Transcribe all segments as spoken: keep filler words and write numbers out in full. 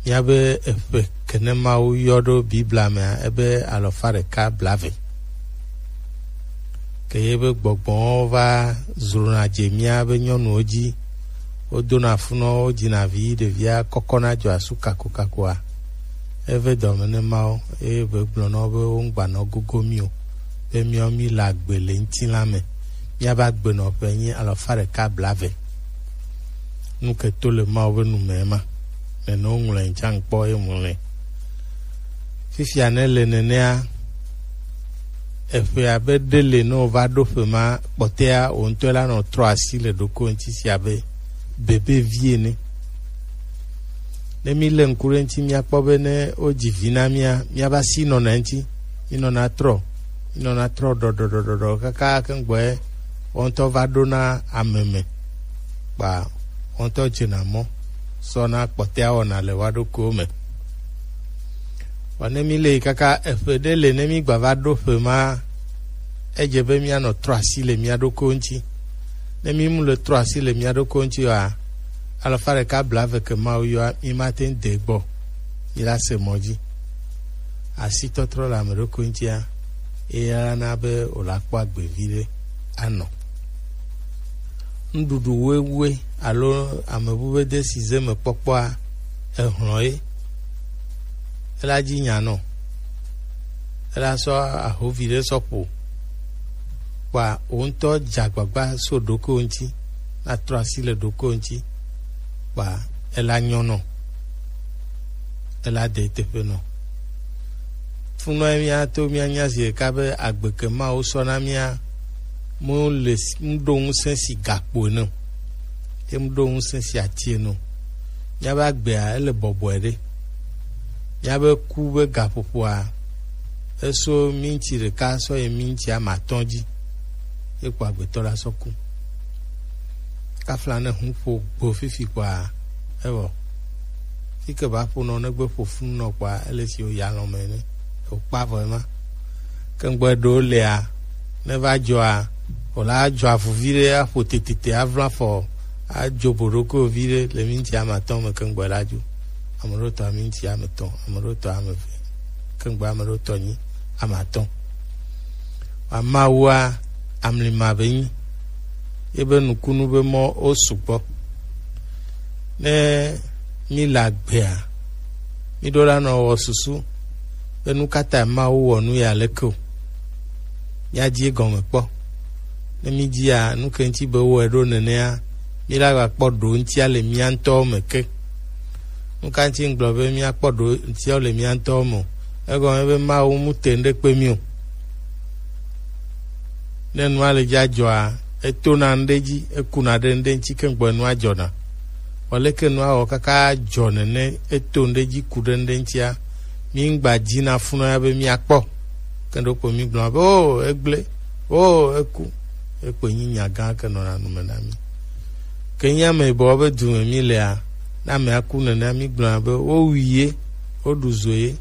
Míabe eƒe ke ne Mawu yɔ ɖo Biblia mea, ebe alafa ɖeka blaeve. Ke ye be gbɔgbɔwo va zrona dze míabe nyɔnuwo dzi. Wodona funɔwo, wodzina vi, ɖevia kɔkɔna dzɔ asu kakokakoa, eve dɔme ne Mawu, eye be gblɔ na wo be woŋgbanɔ gogo mí o, be míawo míle agbe le ŋutilã me. Míabe agbenɔƒe nyi alafa ɖeka blaeve. Nu ke to le Mawu be nu me ma. Nene woŋlɔe ŋtsa ŋkpɔ ye ŋlɔe. Fifia ne le nenea, eƒe abe ɖe le ne wova ɖo ƒe ma kpɔtɛa, wò ŋutɔ la nɔ trɔ asi le ɖoko ŋuti si abe bebe vi ene. Ne mi le ŋku ɖe ŋuti, míakpɔ be ne wodzi vi na mía, míava si nɔna ŋuti, mi nɔna trɔ, mi nɔna trɔ ɖɔɖɔɖɔɖɔ kaka keŋgbɔe wò ŋutɔ va ɖona ame me, kpa wò ŋutɔ dzena mɔ sɔna kpɔtɛa wɔna le wa ɖokuiwo me. Vɔ ne mi le yi kaka eƒe ɖe le ne mi gba va ɖo ƒe ma, edze be míanɔ trɔ asi le mía ɖokuiwo ŋuti. Ne mi mu le trɔ asi le mía ɖokuiwo ŋuti oa, alafa ɖeka blaeve ke Mawu yɔa, mi mate ŋu de gbɔ, mi la se mɔ dzi. Asitɔtrɔ le ame ɖokui ŋutia, eya na be wòla kpɔ agbe viɖe anɔ. Nuɖuɖu wewue alo ame bu be desi ze me kpɔkpɔa, ehlɔ̃ ye. Ela dzi nya nɔ. Ela sɔ ahovi ɖe sɔ ƒo. Kpa wò ŋutɔ dze agbagba so ɖokuiwò ŋuti, natrɔ asi le ɖokuiwò ŋuti, kpa ela nyɔ nɔ, ela de teƒe nɔ. Funɔ ye míato míanya zi ɖeka be agbe ke Mawu sɔ na mía, mu le s-, mu ɖo ŋusẽ si gakpo ene o, ye mu ɖo ŋusẽ si ati ene o. Míabe agbea, ele bɔbɔe ɖe. Míabe ku be gaƒoƒoa, eso minti ɖeka sɔ yi minti ame atɔ̃ dzi, ye kpo agbetɔ la sɔ ku. Kafla ne hu ƒo gbo fifi kpoa, evɔ. Fi ke va ƒo nɔ negbe ƒo funu nɔ kpoa, ele si wo ya lɔ̃ me ne wòkpa vɔ ema. Ke ŋgbɔe ɖewo lea, ne va dzɔa, wòla adzɔ avu viɖe, aƒo tetete, aʋlã afɔ, adzo boɖokuiwò viɖe le minti ame atɔ̃ me, ke ŋgbɔe la dzo. Ame ɖewo tɔ minti ame etɔ̃, ame ɖewo tɔ ame eve, ke ŋgbɔe ame ɖewo tɔ nyi ame atɔ̃. Amawua, amlima be nyi. Ebe nukunu be mɔ wo sugbɔ. Ne mi le agbea, mi ɖo la nɔ wɔ susu be nu ka ta Mawu wɔ nu ya leke o. Mia di egɔme kpɔ. Ne mi dia nu ke ŋuti be wɔe ɖo nenea, mi la gba kpɔ ɖo ŋutia le mia ŋutɔwo me ke. Nu ka ŋuti ŋgblɔ be mia kpɔ ɖo ŋutia le mia ŋutɔwo me o? Egɔme be Mawu mu te ŋɖe kpe mi o. Ne nua le dza dzɔa, etona ŋɖe dzi, ekuna ɖe ŋɖe ŋuti ke ŋgbɔ nua dzɔna. Vɔ leke nua wɔ kaka dzɔ nene, eto ŋɖe dzi ku ɖe ŋɖe ŋutia, mi ŋgba dzi na funɔ ya be mia kpɔ. Ke ɖokpo mi gblɔ be, o, egble, o, eku. Ekpe nyi nya gã ke nɔna nu me na mi. Ke nyi ame yibɔ be du me mi lea, ne amea ku nenea, mi gblɔna be wowui ye, woɖu zo ye.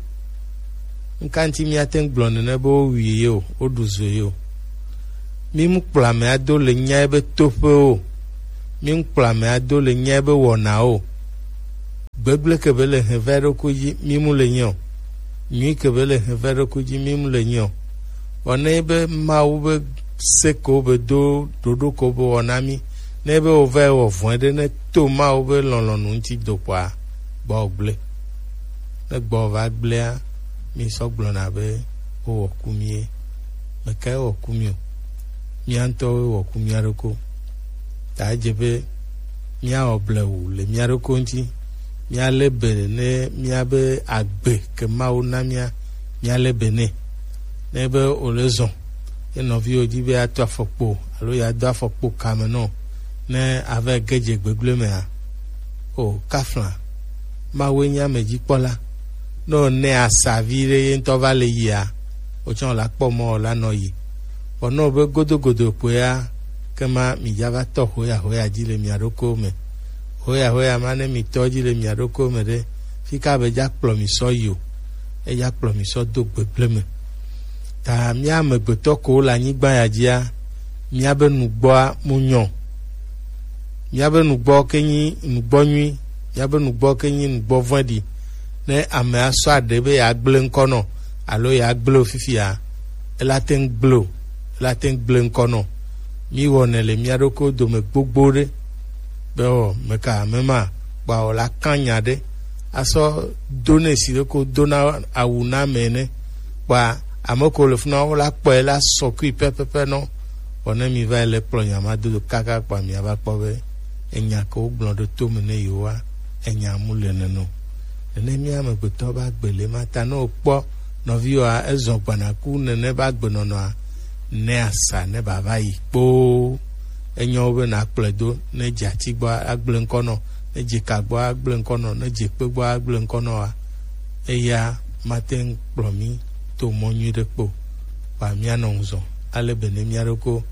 Nu ka ŋuti míate ŋu gblɔ nene be wowui ye o, woɖu zo ye o? Mi mu kplɔ amea do le nyae be toƒe o. Mi mu kplɔ amea do le nyae be wɔna o. Gbegble ke be le hɛn va ɖokui dzi, mi mu le nyi o. Nyui ke be le hɛn va ɖokui dzi, mi mu le nyi o. Vɔ ne be Mawu be se ko be do ɖoɖo ko be wɔ na mi, ne be wo va wɔ vɔ̃e ɖe, ne to Mawu be lɔlɔ̃nu ŋuti do kpoa, gbɔ gble. Ne gbɔ va gblea, mi sɔ gblɔna be wo wɔ ku mi ye. Mekae wɔ ku mi o? Mia ŋutɔwoe wɔ ku mia ɖokui. Ta edze be míawɔ blewu le mía ɖokui ŋuti. Míalé be ne míabe agbe ke Mawu na mía, míalé be nɛ. Ne be wòle zɔ, ye nɔviwo di be yeato afɔkpo alo yeado afɔkpo kame nɔ, ne ava ge dze gbegblẽ mea, o, kafla, Mawue nye amedzikpɔla. Ne wònɛ asa viɖe ye ŋutɔ va le yia, wotsɔ la kpɔ mɔ la nɔ yi. Vɔ ne wobe godogodo kpoea, kema midza va tɔ hoyahoya dzi le mia ɖokuiwo me. Hoyahoya ma ne mitɔ dzi le mia ɖokuiwo me ɖe, fi ka be dza kplɔ mi sɔ yi o, edza kplɔ mi sɔ do gbegblẽ me. Ta mía amegbetɔ kowo le anyigba ya dzia, míabe nugbɔa mu nyɔ. Míabe nugbɔ ke nyi nugbɔ nyui, míabe nugbɔ ke nyi nugbɔ vɔ̃ɖi. Ne amea sɔ aɖe be yeagblẽ ŋkɔ nɔ alo yeagblẽ wo fifia, ela te ŋu gblẽ o, ela te ŋu gblẽ ŋkɔ nɔ. Míwɔnɛ le mía ɖokui dome gbogbo ɖe. Be wɔ meka mema kpa wòla kã nya ɖe asɔ do nɛ si ɖe ko dona awu na ame ene. Kpa ame ko le funa wola kpɔe la sɔ kui pɛpɛpɛ nɔ. Vɔ ne mi va yi le kplɔ nya ma do kaka kpa mia va kpɔ be enya ke wogblɔ ɖe to me ne yewoa, enya mu le nene o. Nene mía amegbetɔ be agbe le ma ta ne wokpɔ nɔviwòa ezɔ gbɔna ku nene be agbenɔnɔa, ne asa ne bava yi kpoo. Enyo be nakplɔe do, ne dze ati gbɔ agblẽ ŋkɔ nɔ, ne dze ka gbɔ agblẽ ŋkɔ nɔ, ne dze kpe gbɔ agblẽ ŋkɔ nɔ wa, eya mate ŋu kplɔ mí to mɔ nyui ɖe kpo. Kpa míanɔ ŋuzɔ ale be ne mía ɖoko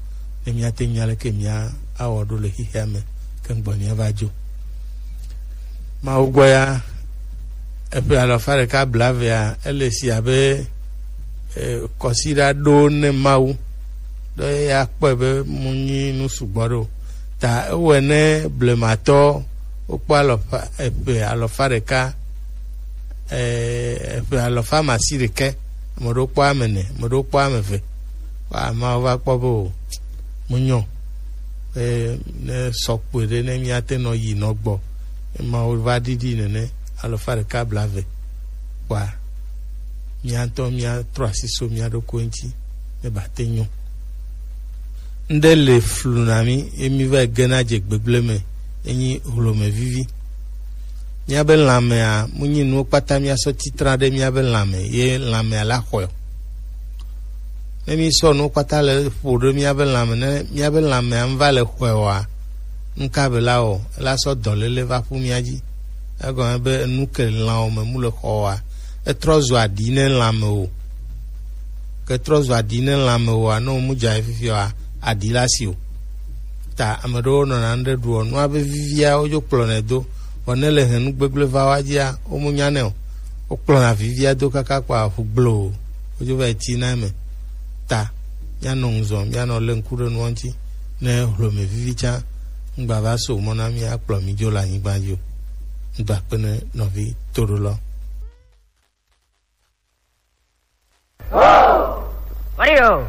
ne míate ŋu nya leke mía awɔ ɖo le xexea me ke ŋgbɔ míava dzo. Mawu gbɔ ya, eƒe alafa ɖeka blaevea, ele si abe eh, kɔsiɖa ɖo ne Mawu. Ɖe ya kpɔe be mu nyi nu sugbɔ ɖo. Ta ewɔe ne blematɔ wokpɔ alɔfa eƒe alɔfa ɖeka, eh, eƒe alɔfa masi ɖekɛ, ame ɖewo kpɔ ame ene, ame ɖewo kpɔ ame eve. Wa ameawo va kpɔ be o, mu nyɔ. Eh, ne sɔ kpɔe ɖe ne míate nɔ yi nɔ gbɔ. Emawo va ɖiɖi nene alɔfa ɖeka blaeve. Kpɔa, mía ŋutɔ míatrɔ asi so mía ɖokui ŋuti ne bate nyo. Ŋɖe le flu na mí ye mí va gena dze gbegblẽ me, enyi hlome vivi. Míabe lãmea mu nyi nuwo kpata míasɔ titra ɖe míabe lãme ye lãmea la xɔe o. Ne mísɔ nuwo kpata le ƒo ɖe míabe lãme, ne míabe lãmea ŋu va le xɔe oa, nuka be la wɔ? Ela sɔ dɔléle va ƒu mía dzi. Egɔme be enu ke lãwo me mu le xɔ oa, etrɔ zu aɖi ne lãme o. Ke trɔ zu aɖi ne lãme oa, ne womu dza ye fifia oa, aɖi la si o. Ta ame ɖewo nɔna ŋɖe ɖuɔ nua be vivia wodzo kplɔnɛ do. Vɔ ne le henu gbegblẽ va wa dzia, womu nyanɛ o. Wokplɔna vivia do kaka kpa ʋu gbloo. Wodzo va yi tina eme. Ta míanɔ ŋuzɔ, míanɔ lé ŋku ɖe nua ŋuti. Ne hlome vivi tsã, ŋgba va so mɔ na mí akplɔ mí dzo le anyigba dzi o. Ŋdɔ akpe ne nɔvi toɖolɔ. Mario.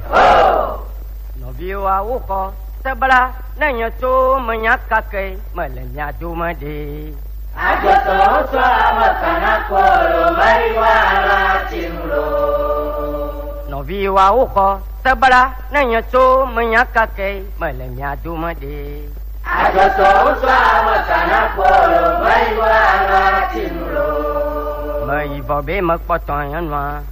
Nɔviwo awo kɔ sebla ne nye tso menya kake mele mia dome ɖe. Agbetɔwo sɔ ame kana kpɔ lo mari wa la ti nu lo. Nɔviwo awo kɔ sebla ne nye tso menya kake mele mia dome ɖe. Agbetɔwo sɔ ame kana kpɔ lo mari wa la ti nu lo. Meyi vɔ be mekpɔtɔ nyɔnua.